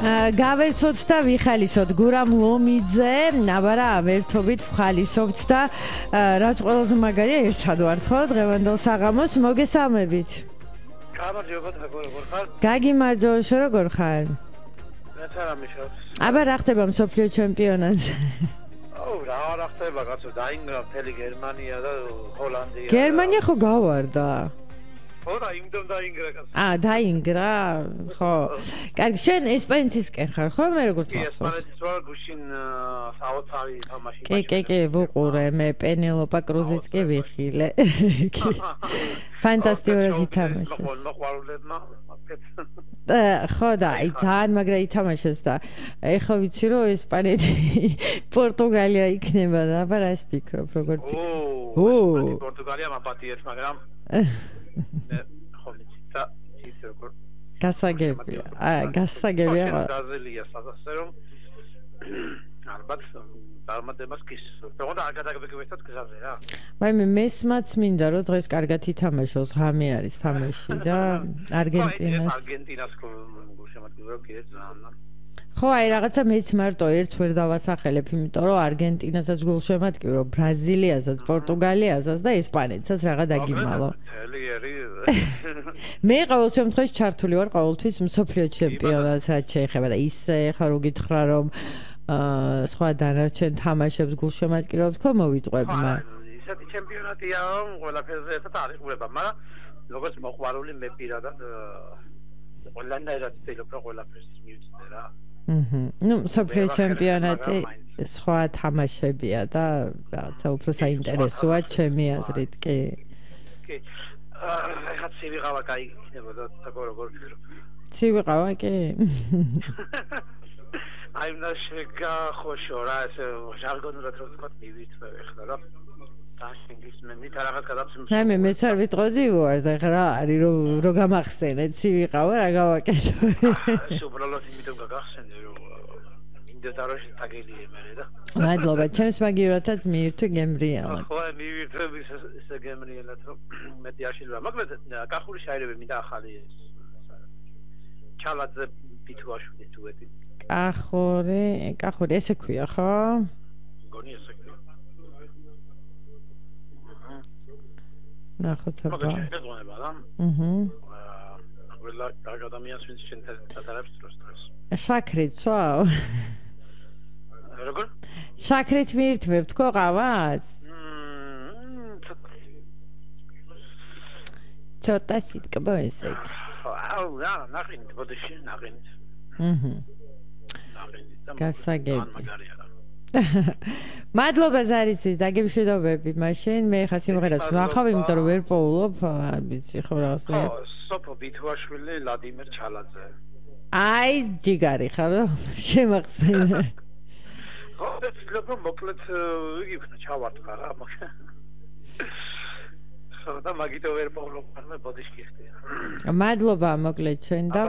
გავერცოთ და ვიხალისოთ გურამ ლომიძე, აბარა ვერთობით ვხალისობთ და რაც ყველაზე მაგარია ერთად ვართ ხო დღევანდელ საღამოს მოგესალმებით. გამარჯობა როგორ ხარ? გაგიმარჯობა როგორ ხარ? მეც არ ამიშავს. აბა რა ხდება მსოფლიო ჩემპიონატზე? რა ხდება კაცო დაინგრა მთელი გერმანია და ჰოლანდია. გერმანია ხო გავარდა? ხო რა იმდენ დაინგრა კაცო. დაინგრა? ხო. კარგი, შენ ესპანეთისკენ ხარ ხო? მე როგორც მახსოვს. ესპანეთის ვარ გუშინ საოცარი თამაში. კი, ვუყურე, მე პენელოპა კრუზიც კი ვიხილე. ფანტასტიკურად ითამაშეს. მოყვარულებმა ხო და ძალიან მაგრა ითამაშეს და ეხლა ვიცი რომ ესპანეთი პორტუგალია იქნება და აბა რა ვფიქრობ როგორ ფიქრობ? პორტუგალია მაპატიეთ მაგრამ ხო ვიცი და ის როგორ გასაგებია. გაზელია სადასე რომ ალბათ წარმატებას გისურვებთ. თქო და არ გადაგებიგებთ გზაზე რა. მე მესმაც მინდა რომ დღეს კარგად ითამაშოს, ღამე არის თამაში და არგენტინას გულშემატკივრებ კიდე ძალიან. ხო, აი რაღაცა მეც მარტო ერთს ვერ დავასახელებ, იმიტომ რომ არგენტინასაც გულშემატკივრო, ბრაზილიასაც, პორტუგალიასაც და ესპანეთსაც რაღა დაგიმალო. მე ყოველ შემთხვევაში ჩართული ვარ ყოველთვის მსოფლიო ჩემპიონატს რაც შეეხება და ისე ხარ უგითხრა რომ სხვა დანარჩენ თამაშებს გულშემატკივრობთ ხო მოვიტყვებ მაგრამ ისეთი ჩემპიონატია რომ ყველაფერზე ერთად არის ყურება მაგრამ როგორც მოყვარული მე პირადად ყველანაირად ვცდილობ რომ ყველაფერს მივიცნე რა ნუ მსოფლიო ჩემპიონატი სხვა თამაშებია და რაღაცა უფრო საინტერესოა ჩემი აზრით კი ეხლა ცივიყავა კაი იქნებოდა როგორ ვფიქრობ ცივიყავა კი აი შეგახოშო რა ესე ჟარგონურად რო ვთქვა მივიწვევ ეხლა რა დაშინგის მე რაღაც გადაცემს მე მეც არ ვიტყოდი უარ და ეხლა რა არის რო გამახსენე ცივიყავა რა გავაკეთო უბრალოდ იმიტომ გაგახსენე რომ მინდა დაროში დაგელიე მე და მადლობა ჩემს მაგივრათაც მიირთვი გემრიელად ხო მივირთვები ისე გემრიელად რომ მეტი აშილვა მაგრამ კახური შაირები მინდა ახალი ჩალაძე ბითუაშვილი დუეტი კახური ესე ქვია ხო? გონი ესე ქვია. ნახოთ აბა. შეგონება რა? ყველა ადამიანს ვინც შენთან დროს. შაქრით სვავ? როგორ? შაქრით მიირთმევთ ხო ყავას? ცოტა სიტკბო ესე. რა, ნახინით, ბოდიში ნახინით. გასაგებია. მადლობა ზარისთვის, დაგემშვიდობები მაშინ. მე ხა სიმღერას ვნახავ, იმიტომ რომ ვერ პოულობ, არ ვიცი ხო რაღაცა. სოფო ბითუაშვილი, ვლადიმერ ჩალაძე. აი, ჯიგარი ხარო? შემახსენე. ხო, ვთქვი, მოკლედ იგი ჩავარტყა რა, ხო და მაგითო ვერ პოულობ, მე ბოდიში ხდია. მადლობა მოკლედ ჩვენ და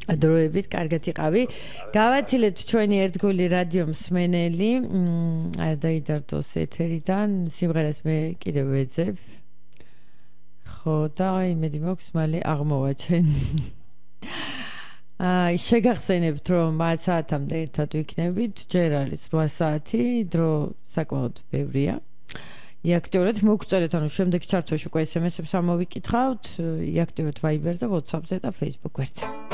დროებით კარგად იყავი. გავაცილეთ ჩვენი ერთგული რადიო მსმენელი. არ დაიდარდოს ეთერიდან. სიმღერას მე კიდევ ვეძებ. ხო და იმედი მაქვს მალე აღმოვაჩენ. შეგახსენებთ რომ 10 საათამდე ერთად ვიქნებით. ჯერ არის 8 საათი, დრო საკმაოდ ბევრია. იაქტიურეთ მოგწერეთ, ანუ შემდეგ ჩართვაში უკვე SMS-ებს ამოვიკითხავთ. იაქტიურეთ Viber-ზე, WhatsApp-ზე და Facebook გვერდზე.